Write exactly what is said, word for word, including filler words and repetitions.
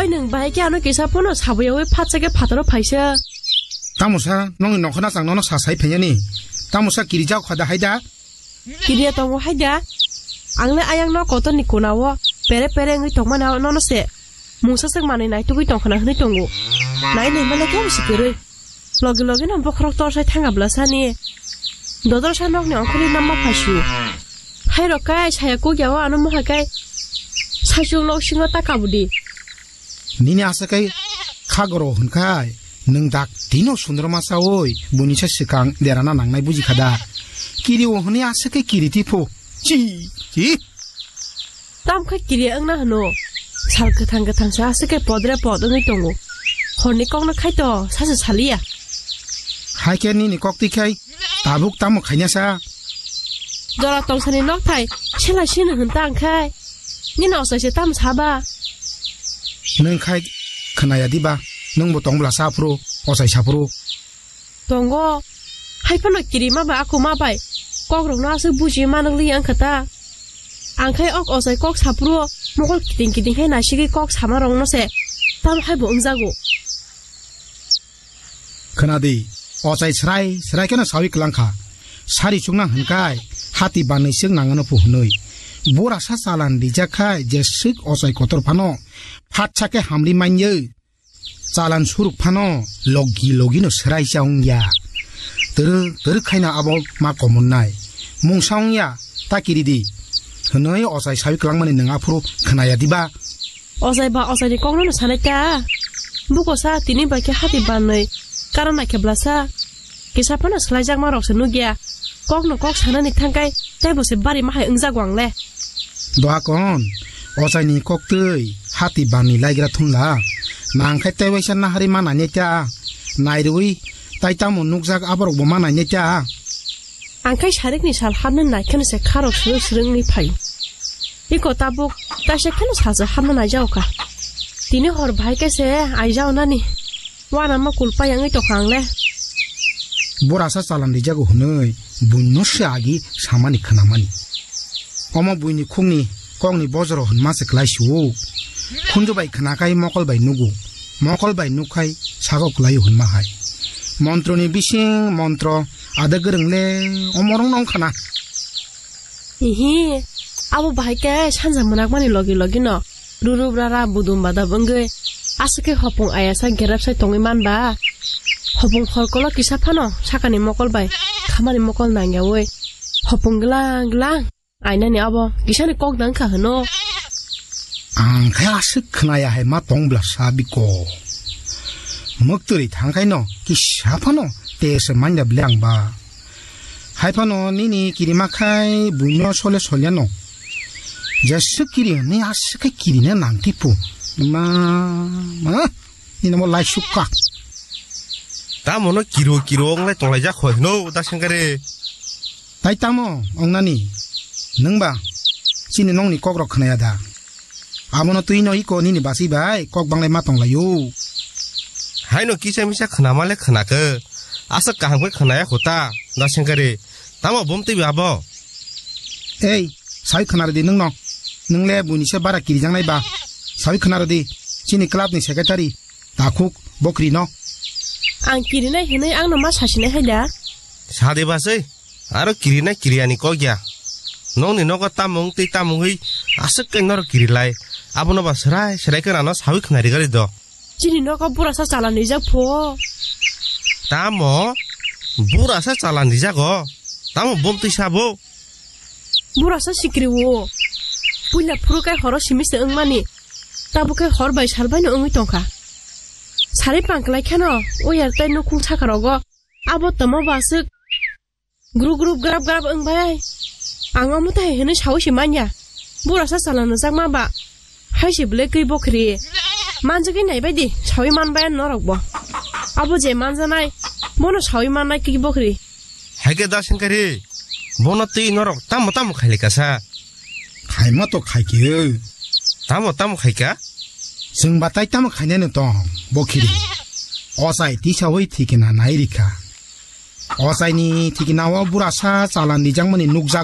Oi, nwng bahai khe ano kisa phano sabuyawi phatsa khe phataro phaisa. Tamo sa, nongni nokha nachang nono sa sai phaiyani. Tamo sa kirijak kha da hai da? Kiriya tongo hai da? Ang le ayang no kotor ni kuna o pere pere wngwi tongmani nono se. Mungsa swk manwi naitugwi tongkhana hwnwi tongo. Nai nai male khe bisi kwrwi. Logi logi no bokhorok torsai thanga bwlasani. Dodorsa nokni ongkhorwi namma phaisu. Hai rok kai saya kukya o ano moha kai. Saichung nok singo ta kabudi. Nini asa kai khagoro hwnkhai nwng dak tino sundroma sawi buini sa swkang derana nangnai buji kha da. Kiri o hwnwi asa kai kiri tipho. Chi, chi. Tam kha kiri wngna hwno. Sal kwthang kwthang sa aswk khe podre pod wngwi tongo. Horni kokno khaito sasa saliya. Hai khe nini kok twi khai tabuk tamo khaina sa? Jora tongsani nok thai sela sini hwn ta ang khai. Nini osai se tam saba? Nwng khai khwnaya diba? Nwngbo tong bwla sa phuru, osai sa phuru. Tongo. Hai phano kirima bai akuma bai kokrokno aswk buji manwk li wngkha ta. Ang khai ok osai kok saphuru mokol kiting kiting khai naisigwi kok sama rokno se tam hai bo wngjago. Khwnadi, osai srai srai kheno sawi kwlangkha. Sari chukna hwnkhai hati banwi swk nangano phu hwnwi. Bura sa chalan rijak khai je swk osai kotor phano phatsa khe hamri manywi. Chalan suruk phano logi logi no srai cha wngya. Twrwk twrwk khaina abo ma komonnai. Mungsa wngya ta kiridi. Hwnwi osai sawi kwlangmani nwng aphuru khwnaya diba? Osai ba osai ni kokno no sanai ta. Buko sa tini bai khe hati banwi karo naikhe bwlasa. Kisa phano swlaijakma rok se nukya. Kokno kok sanani thangkai teibo se bari mahai wngjago ang le. Doha kon, ochaini koktwi hati banwi laigra thumla. Nangkhai tei waisa nahari ma nainai ta. Nairwi tai tamo nukjak aborokbo ma nainai ta. Ang khai sarikni sal hapnani naikheno se kharok swrwk swrwk wngwi phaio. Iko tabuk taisa kheno salsa hapna naijago kha. Tini hor bahai khe se aijago nani. Uanama kul payangwi tongkha ang le. Bura sa chalan rijago hwnwi buino se agi samani khwnamani. Omo buini khukni kokni bojoro hwnma se klai su-o. Khunju bai khwnakhai mokol bai nugo. Mokol bai nukkhai sago klaio hwnma hai. Montroni bising montro ada gwrwng le omorok no wngkhana. Ihi, abo bahai khe sanja mwnakmani logi logi no ruru brara budum badab wngwi aswk khe hopung ayasa gerap sai tongwi manba. Hopung khorkolo kisa phano sakani mokol bai khamani mokol nangyawi hopung glang glang ainani abo kisani kok nang kha hwno. Ang khe aswk khwnaya hai ma tong bla sa biko. Mwktwrwi thang khai no kisa phano te se manya bile ang ba. Hai phano nini kirima khai buino sole solyano. Jeswk kiri hwnwi aswk khe kirina nang tipo. Ma, ma, nini mo lai sukka. Tamo no kiro kiro wng lai tong lai jak hoi hwno da sengkare. Tai tamo wng nani? Nwng ba chini nongni kok rok khwnaya da? Abono twi no iko nini basi bai kok banglai ma tong lai o. Haino kisa misa khwnama le khwnakhe. Aswk kaham khe khwnaya kho ta, da sengkare. Tamo bom twi abo? Ei, sawi khwna rwdi nwng no. Nwng le buini se bara kirijaknai ba. Sawi khwna rwdi, chini club ni secretary, takhuk, bo kiri no. Ang kirinai hinwi ang no ma sasinai hai da? Sadi ba sei, aro kirinai kiriyani kok ya. Nongni nogo tamung tei tamungwi aswk khe norok kirilai. Abono ba swrai swrai khe rano sawi khwna rigari do. Chini nogo burasa chalan rijak pho. Tamo? Burasa chalan rijago? Tamo bom twi sabo? Burasa sikri o. Puila phuru kai horo simi se wngmani. Tabuk khe hor bai sal bai no wngwi tongkha. Sari pangklai kheno, o yar tai nukhung saka rogo. Abo tamo ba aswk. Gru gru grab grab wng bai. Ang omo tai hinwi sawi se manya. Burasa chalano jakma ba. Hai se bwlai kwi bokhri. Manjagwi nai bai di. Sawi man bai norok bo. Abo je manjanai. Bono sawi mannai kwi bokhri. Hai khe da sengkari. Bono twi norok tamo tamo khailai kasa. Khaima to khaikhe. Tamo tamo khaika? Chwng ba tai tamo khainai no tong. Bokhri. Ochai tisawi thikina nai rikha. Ochaini thikina o burasa chalan rijakmani nukjak.